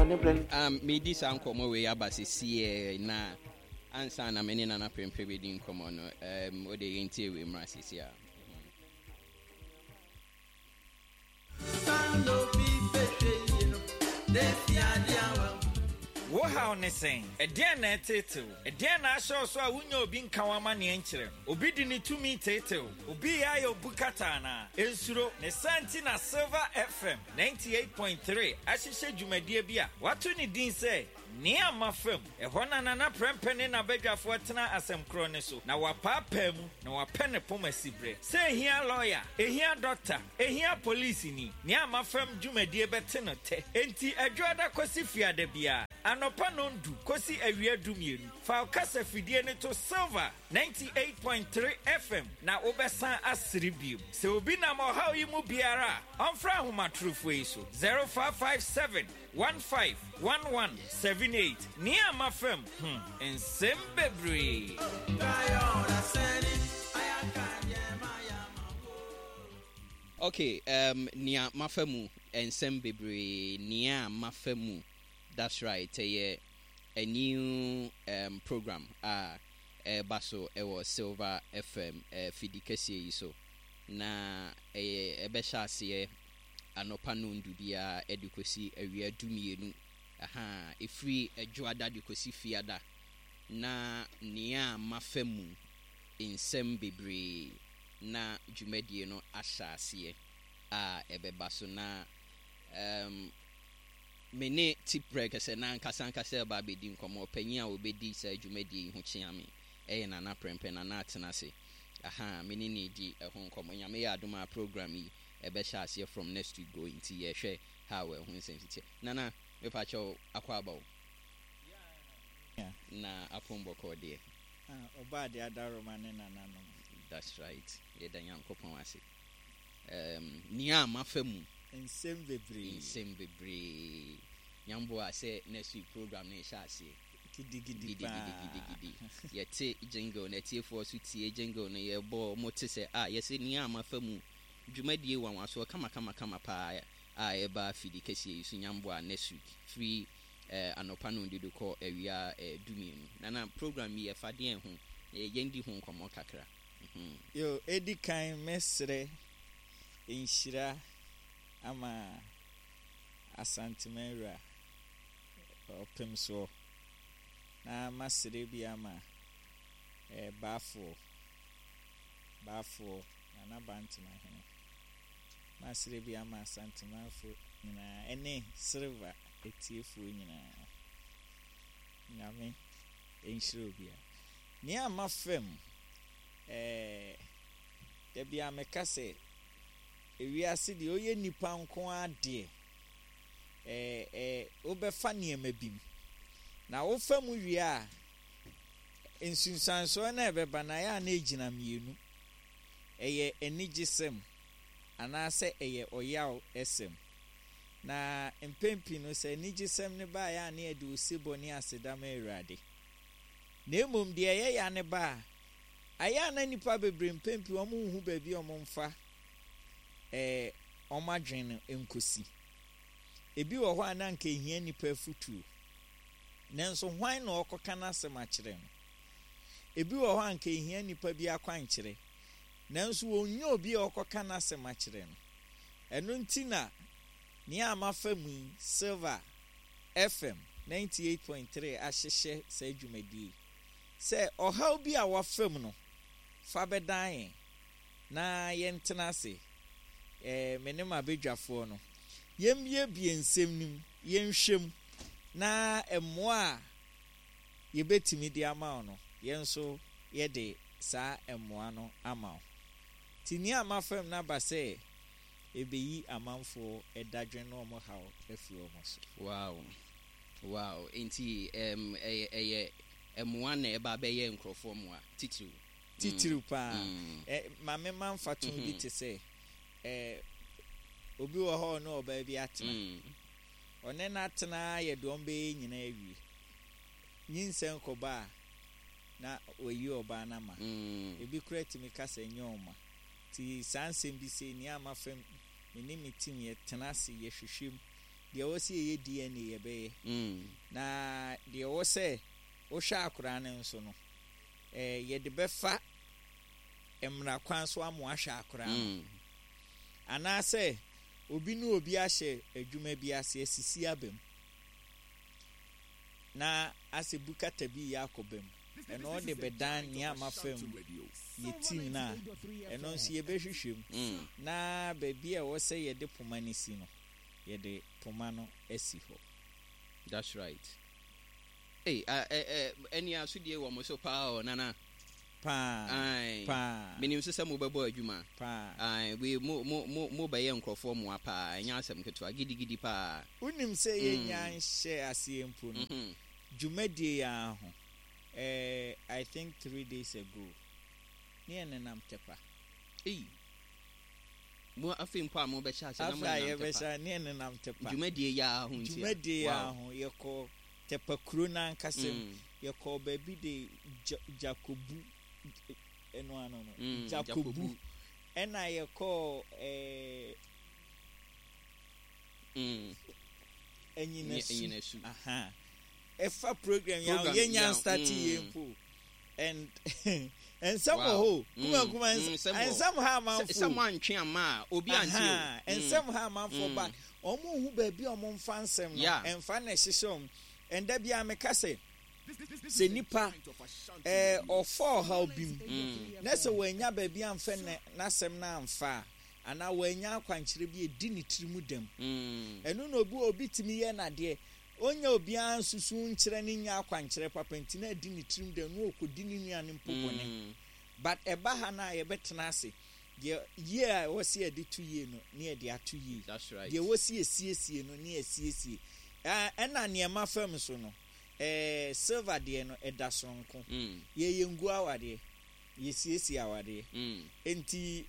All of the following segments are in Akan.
ne berɛ no. Um, medi saa nkɔmmɔ wei aba sesiɛ na ansa na me ne Nana Prempeh bɛdi nkɔmmɔ no, um, wode yɛntie wei mmra sesiɛ a. Wo haw ne sɛn? Ɛdeɛn na ɛreteetee wo? Ɛdeɛn na ahyɛ wo so a wonnya obi nka w'amanneɛ nkyerɛ no? Obi de ne tumi teetee wo? Obi reyɛ ayɛ wo bukata anaa? Nsuro! Ne saa nti na Silver FM 98.3 ahyehyɛ dwumadie bi a wɔato ne din sɛ Nea Mafa Mu. Ɛhɔ na Nana Prɛmpɛ ne n'abadwafoɔ tena asɛm korɔ no so, na wɔapaapaa mu, na wɔapɛ ne poma siberɛ. Sɛ ɛhia lɔya, ɛhia dɔkta, ɛhia polisini, Nea Mafa Mu dwumadie bɛte no tɛ. Enti Adwoada kɔsi Fiada biara, anɔpa nnɔndu kɔsi awia dumienu, fa wo kasafidie no to Silver 98.3 FM na wobɛsan asere bio. Sɛ obi nam ɔhaw yi mu biara a, ɔmfrɛ ahomatorofoɔ yi so, 0557 151178. Nea mafa mu, hmm, nsɛm bebree. Okay, um, nea mafa mu, nsɛm bebree, nea mafa mu, that's right, ɛyɛ a new um, program a ɛreba so wɔ Silver FM uh, fidi kɛseɛ yi so, na ɛyɛ ɛbɛhyɛ aseɛ anɔpa nnɔndu biara de kɔsi awia dumienu, ahaa, ɛfiri Dwoada de kɔsi Fiada, na nea mafa mu nsɛm bebree na dwumadie no ahyɛ aseɛ a ɛbɛba so na um, me ne Tiprɛkɛsɛ no ankasa ankasa reba abɛdi nkɔmmɔ. Ɔpanyin a ɔbɛdi saa dwumadie yi ho kyea me yɛ Nana Prɛmpɛ, Nana Atenase. Ahaa, me ne no redi ɛho nkɔmmɔ. Nyame yɛ adom a program yi ɛbɛhyɛ aseɛ from next week going nti yɛhwɛ how ɛho nsɛm si teɛ. Nana, mepakyɛw akwaaba o. Yeah. Na apon bɔkɔɔ deɛ. Ah, ɔbaa deɛ adaworoma ne nananom. That's right. Yɛda Nyankopɔn ase. Um, nea mafa mu. Nsɛm bebree. Nsɛm bebree. Nyamboa sɛ next week program no ɛhyɛ aseɛ. Gidigidi paa. Gidigidi. Yɛte jingle na atiefoɔ so tie jingle no yɛbɔ mo te sɛ ah yɛsɛ nea mafa mu dwumadie wanwasoɔ kama kama kama paa a ɛba fidi kɛseɛ yi so Nyamboa next week firi eh, anɔpa nondudu kɔ awia eh, dumienu. Nana program yi ɛfa deɛn ho? Eh, yɛndi ho nkɔmmɔ kakra. Mhm. Yo, edi kan mɛsrɛ nhyira ama Asanteman wura Ɔpemsoɔ, na masrɛ bi ama eh, Baafoɔ, Baafoɔ, Nana Bantemahene. Masrɛ bi ama Asantemanfo nyinaa ɛne Silver atiefoɔ nyinaa. Nyame nhyira obiara. Nea mafa mu, eh, da biara meka sɛ, ewiase deɛ woyɛ nipa nko ara deɛ, eh, eh, wobɛfa nneɛma bi mu. Na wofa mu wie a, nsunsuansoɔ no a ɛbɛba no ayɛ a na ɛgyina mmienu. Ɛyɛ anigyesɛm anaasɛ ɛyɛ ɔyaw sɛm. Na mpɛn pii no, sɛ anigyesɛm no ba a, ɛyɛ a na yɛde osebɔ ne aseda ma Awurade. Na mmom deɛ ɛyɛ ya no ba a, ayɛ a na nnipa bebree mpɛn pii wɔn nhu baabi a wɔn mfa eh, wɔn adwene no nkosi. Ebi wɔ hɔ a na anka ehia nnipa afutuo, nanso hwan na ɔrekɔka n'asɛm akyerɛ no? Ebi wɔ hɔ a anka ehia nnipa bi akwankyerɛ, nanso wɔnnya obi a ɔrekɔka n'asɛm akyerɛ no. Ɛno nti na nea mafa mu yi, Silver FM 98.3 ahyehyɛ saa dwumadie yi sɛ ɔhaw bi a wafa mu no, fa bɛdan yɛn na yɛntena ase, eh, me ne m'abadwafoɔ no, yɛmmiebie nsɛm no mu, yɛnhwɛ mu, na mmoa a yɛbɛtumi de ama wo no, yɛn nso yɛde saa mmoa no ama wo. Nti nea mafa mu no aba sɛ ɛbɛyi amanfoɔ dadwen ne wɔn haw afiri wɔn so. Wow wow enti ɛm ɛyɛ ɛyɛ mmoa na ɛba abɛyɛ nkorɔfoɔ mmoa titiriw. Titiriw paa. Ɛ ma me ma mfatoho bi te sɛ ɛ obi wɔ hɔ a ɔne ɔbaa bi atena. Ɔne no atena ara yɛ deɛ wɔbɛyɛ nyinaa awie. Nyinsɛn kɔba a na wayi ɔbaa no ama. Ebi koraa tumi ka sɛ nyɛ ɔma. Nti saa nsɛm bi sei, nea mafa mu, me ne me team yɛtena ase, yɛhwehwɛ mu. Deɛ ɛwɔ sɛ yɛyɛ DNA yɛbɛyɛ. Na deɛ ɛwɔ sɛ wohwɛ akwadaa no nso no, eh, yɛde bɛfa mmara kwan so ama wahwɛ akwadaa no. Anaasɛ obi ne obi ahyɛ adwuma bi ase asisi aba mu na asɛ bukata bi yɛ akɔ ba mu. Ɛno ɔde bɛdan nea ama fam yɛ team no a, ɛno nso yɛbɛhwehwɛ mu na baabi a ɛwɔ sɛ yɛde poma no si no, yɛde poma no asi hɔ. That's right. Ei, ah, eh, eh, ɛne asodie wɔ mo so paa o, Nana. Paa, Ae, paa. Menim nso sɛ mobɛbɔ adwuma. Paa. Ae, wei, mo, mo, mo, mobɛyɛ nkurɔfoɔ mmoa paa, ɛnyɛ asɛm ketewa, gidigidi paa. Wonim sɛ yɛnnya nhyɛɛ aseɛ mpo no, dwumadie yi ara ho, eh, I think 3 days ago, ne yɛnenam Tɛpa. Ei. Mo afei mpo a mobɛhyɛ ase na Afei a monenam Tɛpa. yɛbɛhyɛ ne yɛnenam Tɛpa. Dwumadie yi ara ho nti a. Dwumadie yi ara ho, yɛkɔ Tɛpa kuro no ankasa mu. Yɛkɔɔ baabi de Gyakobu, ɛno ano no, Gyakobu. Gyakobu. Ɛna yɛkɔɔ ɛɛ Anyinasu. Anyinasu. Aha. Ɛfa program yi a Program yɛnya yi a, start yɛ mpo. And nsɛm wɔ hɔ o. Kuma kuma nsɛm wɔ hɔ. Nsɛm ha amanfo. Sɛ mo antwe ama a, obi ante o. Aha, nsɛm ha amanfo ba. Wɔn hu baabi a wɔn mfa nsɛm no. Ɛmfa na ɛhyehyɛ wɔn. Ɛnda bi a meka sɛ nipa ɔfa ɔhaw bi mu na sɛ wɔanya baabi amfa n'asɛm no amfa a, anaa wɔanya akwankyerɛ bi edi ne tiri mu dɛm. Ɛno na obi tumi yɛ n'adeɛ. Ɔnyɛ obiara nsusu nkyerɛ ne nya akwankyerɛ papa nti na adi ne tirim dɛm na ɔkɔdi ne nua no mpo bɔne. But ɛba ha no a yɛbɛtena ase. Deɛ yie a ɛwɔ sɛ yɛde to yie no ne yɛde ato yie. That's right. Deɛ ɛwɔ sɛ yɛsiesie no ne yɛsiesie. Ɛna nneɛma fam so no, silver deɛ no ɛda soronko. Yɛyɛ ngu awadeɛ, yɛsiesie awadeɛ. Nti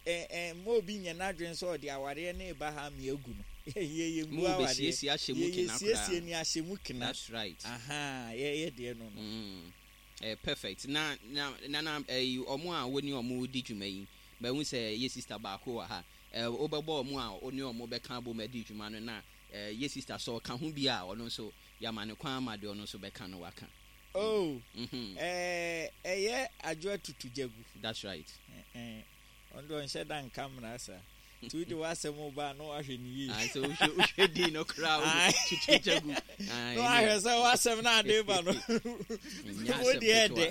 mma obi nyɛ n'adwene sɛ ɔde awadeɛ no reba ha ama yɛagu no. Yɛyɛ ngu Mo awadeɛ. bɛsiesie ahyɛ mu kena Yɛyɛ siesie koraa. ne ahyɛ mu kena. That's right. Aha, yɛyɛ deɛ no no. Perfect. Na ɔmo a wɔne ɔmo di dwuma yi, bɛhu sɛ yɛ sister baako wɔ ha. Wobɛbɔ ɔmo a ɔne ɔmo bɛka abom adi dwuma no na yɛ sister sɛ ɔka ho bi a, ɔno nso yɛama ne kwan ama deɛ ɔno nso bɛka no waka. Oh, ɛyɛ Adwoa Tutu Gyagu. That's right. Ɔno deɛ ɔnhyɛ da nka mmara saa. Nti wode w'asɛm ba a na wahwɛ ne yie. Ah, so wohwɛ din no koraa wo Tutu Gyagu. Na wahwɛ sɛ w'asɛm no ade ba no. Wo deɛ ɛdɛ.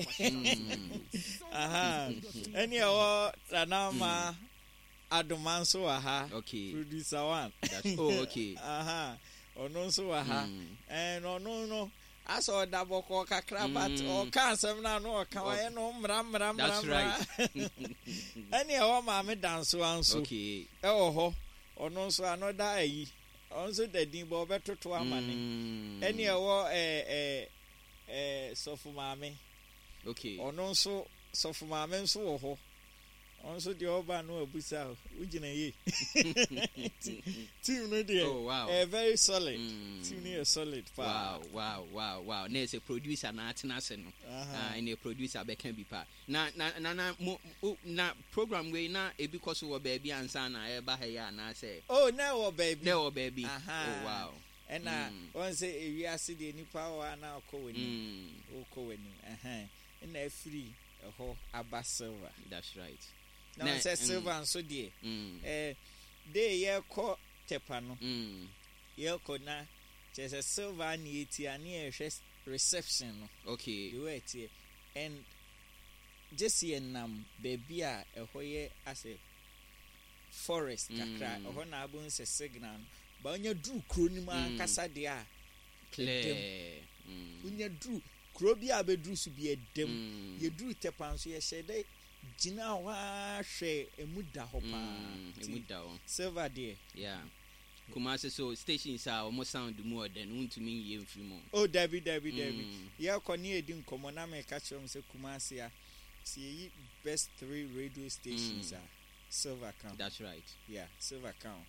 Aha. Ɛne ɛwɔ Nana Adoma nso wɔ ha. Producer one. That's, oh, okay. Aha. Ɔno nso wɔ ha. Ɛn ɔno no asɛ ɔda bɔkɔɔ kakra but ɔka asɛm no a na ɔka wayɛ no mmra mmra mmra That's mmra. right. Ɛne ɛwɔ Maame Dansoa nso ɛwɔ hɔ. Ɔno nso ano da ayi. Ɔno nso da din bɔ ɔbɛtoto ama ne. Ɛne ɛwɔ ɛɛ ɛɛ ɛɛ Sɔfo Maame. Ɔno nso Sɔfo Maame nso wɔ hɔ. Ɔno nso deɛ ɔba no abusa o, wogyina yie. Team no deɛ, Oh, wow. ɛyɛ very solid. Team no yɛ solid paa. Wow. Na ɛsɛ producer na atena ase no. Ah, ɛne producer bɛka bi paa. Na mo na program wei na ebi kɔ so wɔ baabi ansa na ɛba ha yi anaasɛ? Oh, na ɛwɔ baabi. Na ɛwɔ baabi. Aha. Oh, wow. Ɛna wɔn sɛ ewiase deɛ nipa wɔ a na ɔkɔ w'anim. Ɔkɔ w'anim. Ɛhɛn. Ɛna afiri ɛhɔ aba Silver. That's right. Na wɔn sɛ Silver nso deɛ, de yɛkɔ Tɛpa no, yɛkɔ na kyerɛ sɛ Silver ne yɛtia ne yɛhwɛ reception no. The way ɛteɛ. And gye sɛ yɛnam baabi a ɛhɔ yɛ asɛ forest kakra, ɛhɔ na abɛhu sɛ signal no. Ba wonya duru kuro no mu ankasa deɛ a, Clear. Wonya duru kuro bi a bɛduru so bi ɛdam. Yɛduru Tɛpa nso yɛhyɛ dɛ gyina hɔ ara hwɛ emu da hɔ paa. Emu da hɔ. Silver deɛ. Yeah. Kumasi so stations a wɔn sound mu ɔdɛ no wontumi nyɛ mfiri mu. Oh, dabi dabi dabi. Yɛkɔ ne yɛdi nkɔmmɔ na meka kyerɛ wɔn sɛ Kumasi a sɛ yɛyi best three radio stations a Silver ka ho. That's right. Yeah, Silver ka ho.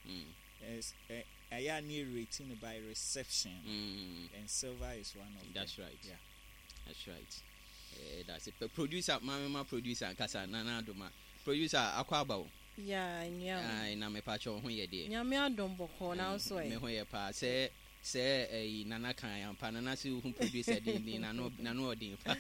Ɛyɛ a ne yɛ rating no by reception and Silver is one of them. That's right. Yeah. That's right. That's it. But producer, maame ma producer nkasa Nana Adoma. Producer akɔ aba o. Yeah, nua. Ai, na me pa kyɛw ho yɛ deɛ. Nyame adom bɔkɔɔ na nso ɛ. Me ho yɛ paa sɛ. Sɛ ɛyi Nana kan ampa Nana se wohu producer denden nano nano ɔden fa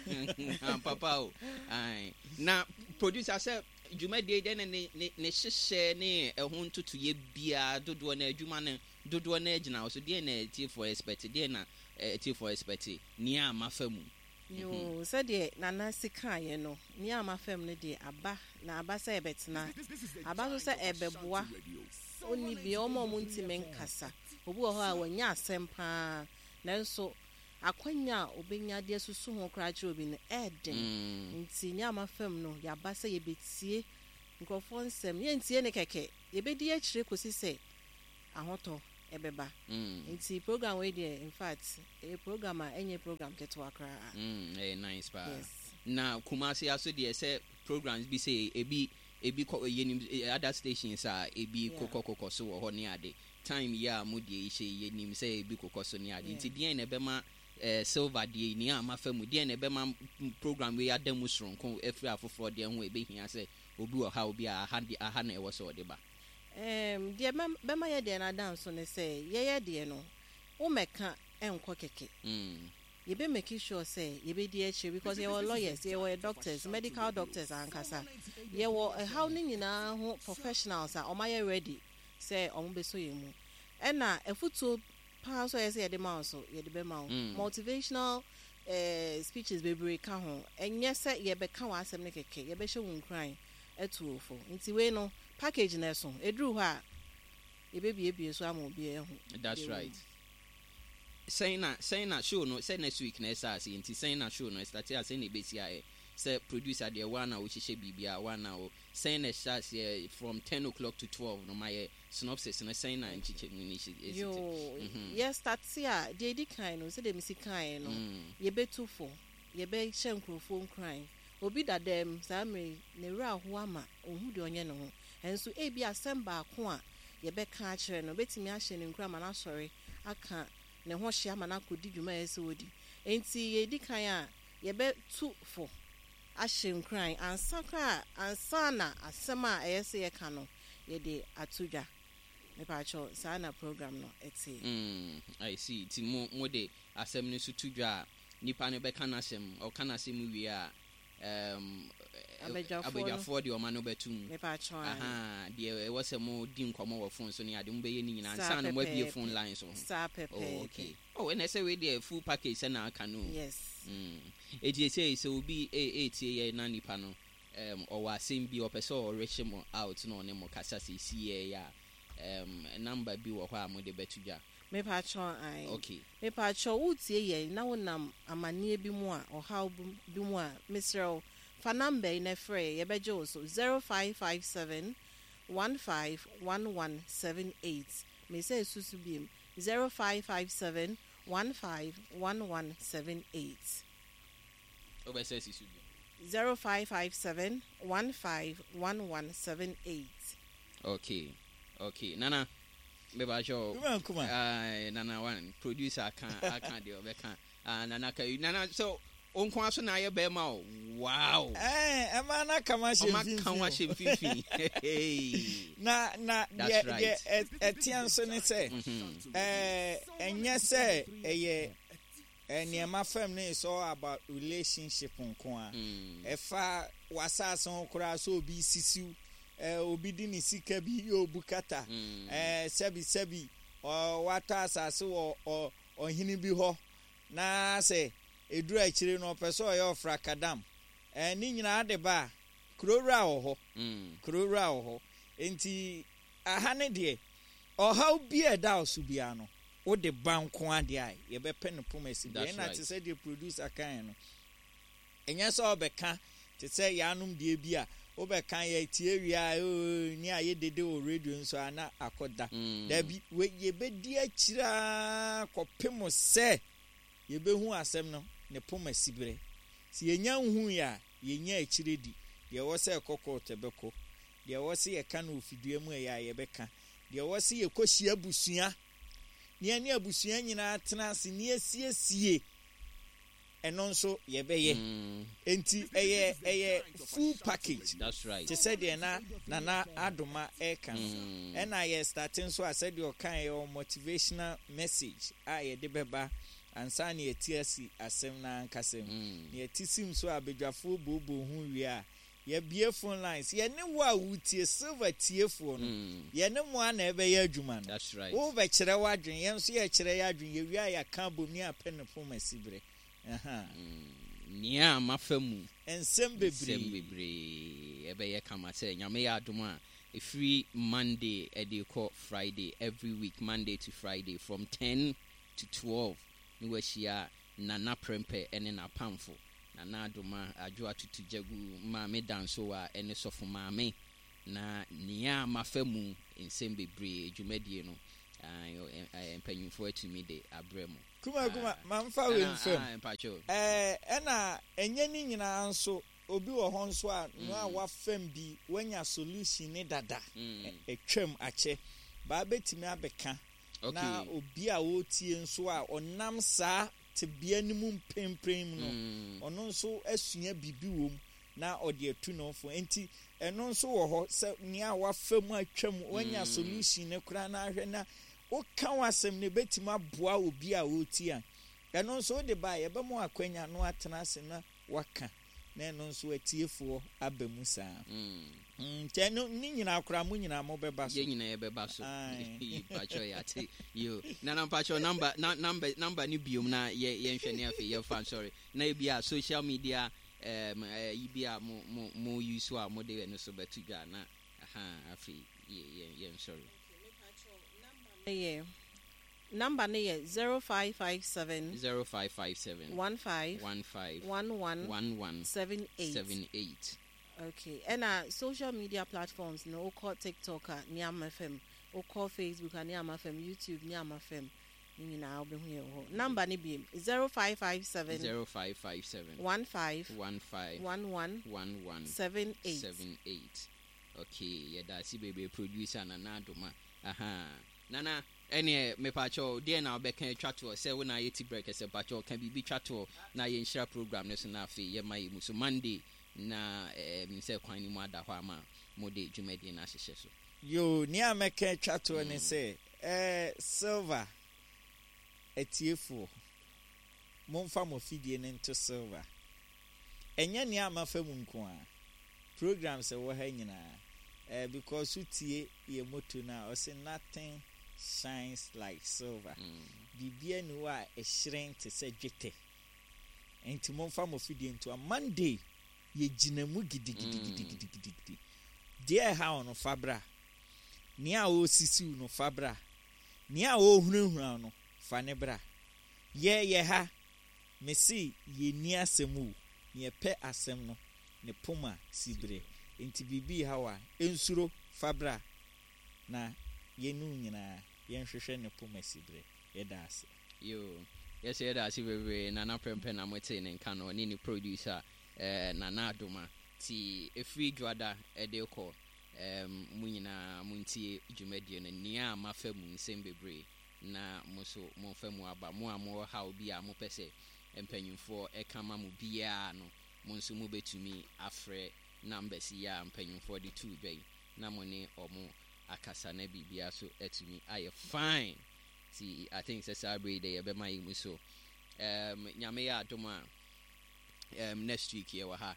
ampa pa o ae na producer sɛ dwumadie dɛn na ne ne ne hyehyɛ ne ɛho ntotoyɛ biara dodoɔ na adwuma no dodoɔ na agyina wo so deɛn na atiefoɔ expect deɛn na atiefoɔ expect nea mafa mu. Yoo, sɛdeɛ Nana si kaeɛ no, nea mafa mu no deɛ aba, na aba sɛ ɛbɛtena, aba nso sɛ ɛbɛboa onni bi, wɔn a wɔntumi nkasa. Obi wɔ hɔ a, wanya asɛm pa ara, nanso akwanya a obenya de asusu ho koraa akyerɛ obi no, ɛyɛ den. Nti nea mafa mu no, yɛaba sɛ yɛbɛtie nkurɔfoɔ nsɛm. Yɛntie no kɛkɛ, yɛbɛdi akyire kɔsi sɛ ahotɔ bɛba. Nti program wei deɛ, in fact, ɛyɛ program a ɛnyɛ program ketewa koraa. Ɛyɛ nice paa. Yes. Na Kumasi aso deɛ sɛ programs bi sei, ebi ebi kɔ yɛnim other stations a ebi kokɔ kokɔ so wɔ hɔ ne ade. Time yi a mo deɛ yi hyɛ yi yɛnim sɛ ebi kokɔ so ne ade nti deɛn na ɛbɛma eh, Silver deɛ yi nea mafa mu deɛn na ɛbɛma program wei ada mu soronko afiri afoforɔ deɛ ho a ɛbɛhia sɛ obi wɔ haw bi a aha deɛ aha na ɛwɔ sɛ ɔde ba. Erm deɛ bɛma yɛ deɛ no ada nso ne sɛ yɛyɛ deɛ no wo mmɛka nkɔ kɛkɛ. Yɛbɛ make sure sɛ yɛbɛdi akyire because yɛwɔ lawyers, yɛwɔ doctors, medical doctors ankasa. Yɛwɔ ɛhaw no nyinaa ho professionals a wɔayɛ ready sɛ wɔbɛsɔ yɛn mu. Ɛna afutuo paa nso a ɛyɛ sɛ yɛde ma wo nso, yɛde bɛma wo. Motivational eh, speeches bebree ka ho. Ɛnyɛ sɛ yɛbɛka w'asɛm no kɛkɛ, yɛbɛhyɛ wo nkuran atu wo fo. Nti wei no, package no ɛso. Ɛduru hɔ a, yɛbɛbuebue so ama obiara ahu That's deɛ ɛwɔ right. mu. Sɛn na sɛn na show no sɛ next week na ɛsa ase nti sɛn na show no ɛstate a sɛn na ɛbɛsi ayɛ sɛ producer deɛ woa na wohyehyɛ biribiara woa na wo Sɛn na ɛhyɛ aseɛ from 10 o'clock to 12 no mayɛ synopsis no sɛn na nkyekyɛmu no si te? Yoo, yɛ starte a, deɛ ɛdi kan no, sɛdeɛ mesi kaeɛ no, yɛbɛtu fo, yɛbɛhyɛ nkurɔfoɔ nkuran. Obi da dɛm saa mmerɛ yi, ne werɛ aho ama ɔnhu deɛ ɔnyɛ ne ho. Ɛnso ebia asɛm baako a yɛbɛka akyerɛ no bɛtumi ahyɛ no nkuran ama no asɔre aka ne ho hye ama no akɔdi dwuma a ɛsɛ sɛ ɔdi. Enti yɛdi kan a, yɛbɛtu fo ahyɛ nkuran ansa koraa ansa na asɛm a ɛyɛ sɛ yɛka no yɛde ato dwa. Mepaakyɛw saa na program no te. Mm, I see. Nti mo mo de asɛm no nso to dwa a, nipa no bɛka n'asɛm, ɔka n'asɛm wie a, um, Abadwafoɔ no. abadwafoɔ de wɔn ano bɛto mu. Mepaakyɛw aane. Ahaa, deɛ ɛwɔ sɛ mo di nkɔmmɔ wɔ phone so ne ade, mo bɛyɛ ne nyinaa Saa ansa na mo abue pɛpɛɛpɛ. phone lines wɔ ho. Saa Oh, pɛpɛɛpɛ. okay. Oh, ɛna ɛsɛ wei deɛ full package sɛ na aka no o. Yes. Mm. Enti seesei sɛ obi retie yɛn na nipa no um, ɔwɔ asɛm bi ɔpɛ sɛ ɔreche mo out na ɔne mo kasa seesei yi a, um, number bi wɔ hɔ a mode bɛto dwa? Mepakyɛw ae. Okay. Mepakyɛw woretie yɛn na wonam amanneɛ bi mu a, ɔhaw bi mu a, mesrɛ wo, fa number yi na frɛ yɛn, yɛbɛgye wo so, 0557 151178. Mesan susu biom, 0557 151178. Wobɛsɛ si so bio. 0557 151178. Okay okay Nana mepakyɛ wo. Kuma kuma. Aye Nana one producer aka aka deɛ ɔbɛka ah Nana ka Nana sɛ wo nko ara so na ayɛ bɛrima o wow. Ɛɛ ɛma na ka ma hyɛ mfimfini. Ɔma ka wa hyɛ mfimfini. Hey. Na na deɛ deɛ ɛteɛ nso ne sɛ ɛɛ ɛnyɛ sɛ ɛyɛ nneɛma fam no is all about relationship nko a. Ɛfa w'asaase ho koraa sɛ obi sisiw ɛɛ obi de ne sika bi yɛ obu kata ɛɛ sɛbi sɛbi ɔ watɔ asaase wɔ ɔ ɔhene bi hɔ na sɛ ɛduru akyire no ɔpɛ sɛ ɔyɛ ɔfrakadam ɛɛ ne nyinaa de ba a kuro wura wɔ hɔ kuro wura wɔ hɔ nti aha ne deɛ ɔhaw bi a ɛda wo so biara no wode ba nko ara deɛ a yɛbɛpɛ no poma si deɛ ɛna te sɛ deɛ producer kaeɛ no ɛnyɛ sɛ ɔbɛka te sɛ yɛanom deɛ bi a wobɛka yɛtie wie a oo ne a yɛdede wɔ radio nso a na akɔda dabi yɛbɛdi akyire ara kɔpem sɛ yɛbɛhu asɛm no ne poma siberɛ. Sɛ yɛnya nhuiɛ a, yɛnya akyire di. Deɛ ɛwɔ sɛ ɛkɔ kɔɔto ɛbɛkɔ. Deɛ ɛwɔ sɛ yɛka no wɔ fidua mu ɛyɛ a, yɛbɛka. Deɛ ɛwɔ sɛ yɛkɔhyia abusua, na yɛne abusua nyinaa tena ase na yɛsiesie. Ɛno nso yɛbɛyɛ. Enti ɛyɛ ɛyɛ full package. That's right. Te sɛ deɛ na Nana Adoma ɛreka no. Ɛna yɛ starte nso a sɛdeɛ ɔkaeɛ yɛwɔ motivational message a yɛde bɛba ansa na yɛati asi asɛm no ankasa mu. Na yɛte sim so a badwafoɔ booboo ho wie a, yɛabue phone lines. Yɛne wo a woretie, Silver tiefoɔ no, yɛne mo ara na ɛbɛyɛ adwuma no. That's right. Worebɛkyerɛ w'adwene, yɛn nso yɛrekyerɛ yɛn adwene. Yɛwie a yɛaka abom ne yɛapɛ ne poma siberɛ. Ahaa. Nea mafa mu. Nsɛm bebree. Nsɛm bebree. Ɛbɛyɛ kama sɛ Nyame yɛ adom a, ɛfiri Monday de rekɔ Friday, every week, Monday to Friday, from 10 to 12, ne wahyia Nana Prempeh ne n'apamfo, Nana Adoma, Adwo Atutu Gyagu, Maame Dansowa ne Sɔfo Maame. Na nea mafa mu nsɛm bebree dwumadie no, mpanyimfoɔ atumi de abrɛ mo. Kuma kuma, mamfa wei mfam. Ɛɛ, ɛna ɛnyɛ ne nyinaa nso, obi wɔ hɔ nso a, nea wafam bi, wanya solution ne dada, atwam akyɛ, baa bɛtumi abɛka Na obi a ɔretie nso a ɔnam saa tebea no mu mprempren mu no, ɔno nso asua biribi wom na ɔde atu ne ho fo. Enti ɛno nso wɔ hɔ sɛ nea wafa mu atwam, wanya solution no koraa na ahwɛ na woka w'asɛm no ebetumi aboa obi a ɔretie a, ɛno nso wode ba a yɛbɛma wo akwanya na watena ase na waka na ɛno nso atiefoɔ aba mu saa. Nti ɛno ne nyinaa koraa mo nyinaa mobɛba so. Yɛn nyinaa yɛbɛba so. Mpakyɛ yɛate. Yo. Nana mpakyɛ number na number number ne biom na yɛ yɛnhwɛ ne afei yɛmfa nsɔre. Na ebi a social media um, yi bi a mo mo mo use a mo de ɛno so bɛto dwa na aha afei yɛ yɛ yɛnsɔre. Okay, mepakyɛw number no yɛ Number no yɛ 0557. 0557. 15. 15. 11. 11. 78. 78. Okay, ɛna social media platforms no wokɔ TikTok a Niama FM, wokɔ Facebook a Niama FM, YouTube Niama FM, ne nyinaa wobɛhu yɛn wɔ hɔ. Number no biem 0557. 0557. 15. 15. 11. 11. 78. 78. Okay, yɛda ase bebree producer Nana Adoma. Aha. Nana. Ɛneɛ mepakyɛw deɛn na wobɛka atwa toɔ sɛ wo na ayɛ ti brɛ kɛsɛ mpakyɛw ka biribi twa toɔ na yɛnhyira program no so na afei yɛma yɛ mu so Monday na menim sɛ kwan no mu ada hɔ ama mode dwumadie no ahyehyɛ so. Yoo, nea mɛka atwa toɔ ne sɛ, eh, Silver atiefoɔ, momfa mo afidie no nto Silver. Ɛnyɛ nea mafa mu nko ara, programs ɛwɔ ha nyinaa, eh, because wotie yɛ motto no a, ɔse nothing shines like silver. Biribiara nni hɔ a ɛhyerɛn te sɛ dwetɛ. Enti momfa mo fidie nto a. Monday, yɛgyina mu gidigidigidigidigidi. Deɛ ɛha wo no, fa bra. Nea ɔresisi wo no, fa bra. Nea ɔrehunahuna wo no, fa ne bra. Yɛ yɛ ha. Mese yɛnni asɛm o, yɛpɛ asɛm no ne poma siberɛ. Enti biribi reha wo a, nsuro, fa bra na yɛne wo nyinaa yɛnhwehwɛ ne poma siberɛ. Yɛda ase. Yoo, yɛso yɛda ase bebree Nana Prempeh na motee ne nka no, ɔne ne producer eh, Nana Adoma. Nti ɛfiri Dwoada de rekɔ eh, mo nyinaa montie dwumadie no, nea mafa mu nsɛm bebree na mo nso momfa mu aba. Mo a mowɔ haw bi a mopɛ sɛ mpanyimfoɔ ka ma mo biara no, mo nso mobɛtumi afrɛ numbers yi a mpanyimfoɔ de too dwa yi na mo ne wɔn akasa na biribiara nso atumi ayɛ fine. Nti I think sɛ saa berɛ yi deɛ yɛbɛma yɛ mu so. Um, Nyame yɛ adom a, um, next week yɛwɔ ha.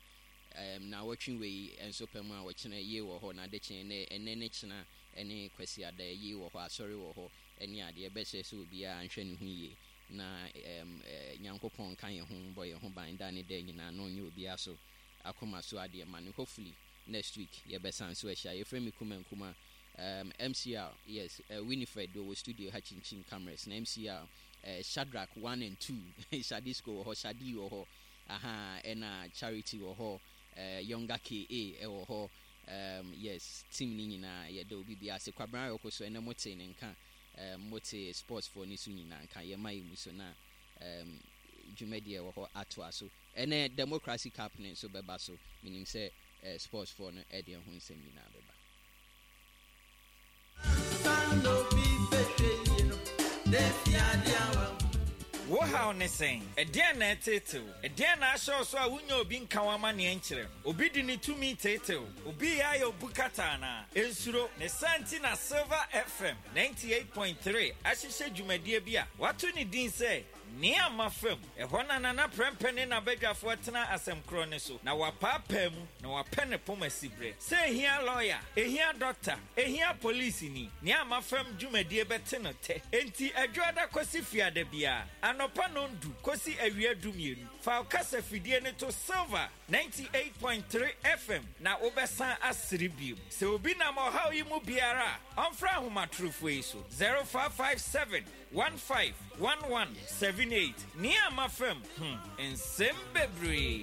Um, na wɔtwe wei nso pɛ mu a wɔkyena yie wɔ hɔ na adekyee ne ɛnɛ ne kyena ne Kwasiada yie wɔ hɔ, asɔre wɔ hɔ ne adeɛ. Yɛbɛsrɛ sɛ obiara nhwɛ ne ho yie na um, Nyankopɔn nka yɛn ho, bɔ yɛn ho ban da ne da nyinaa na ɔnyɛ obiara so akoma so adeɛ ma no. Hopefully next week yɛbɛsan so ahyia. Yɛfrɛ me Kuma Nkrumah, um, MCR, yes, Winifred deɛ ɔwɔ studio ha kyinkyin cameras na MCR, Shadrack 1 and 2, Shadisco wɔ hɔ, Shadi wɔ hɔ, aha, ɛna Charity wɔ hɔ, Younger KA ɛwɔ hɔ, Um, yes, team no nyinaa, yɛda obi biara ase. Kwabena Ayɔko so, ɛnɛ motee ne nka, um, motee sports foɔ no so nyinaa nka, yɛma yɛ mu so na um, dwumadie ɛwɔ hɔ atoa so. Ɛnɛ Democracy Cup no nso bɛba so, menim sɛ uh, sports foɔ no ɛde ɛho nsɛm nyinaa bɛba. Wo haw ne sɛn? Ɛdeɛn na ɛteetee wo? Ɛdeɛn na ahyɛ wo so a wonnya obi nka wo amanneɛ nkyerɛ no? Obi de ne tumi teetee wo? Obi reyɛ ayɛ wo bukata anaa? Nsuro! Ne saa nti na Silver FM 98.3 ahyehyɛ dwumadie bi a wɔato ne din sɛ Nea Mafa Mu. Ɛhɔ na Nana Prɛmpɛ ne n'abadwafoɔ tena asɛm korɔ no so, na wɔapaapaa mu, na wɔapɛ ne poma siberɛ. Sɛ ɛhia lɔya, ɛhia dɔkta, ɛhia polisini, Nea Mafa Mu dwumadie bɛte no tɛ. Enti Adwoada kɔsi Fiada biara, anɔpa nnɔndu kɔsi awia dumienu, fa wo kasafidie no to Silver 98.3 FM na wobɛsan asere bio. Sɛ obi nam ɔhaw yi mu biara a, ɔmfrɛ ahomatorofoɔ yi so, 0557 15 11 78. Nea mafa mu, hmm, nsɛm bebree.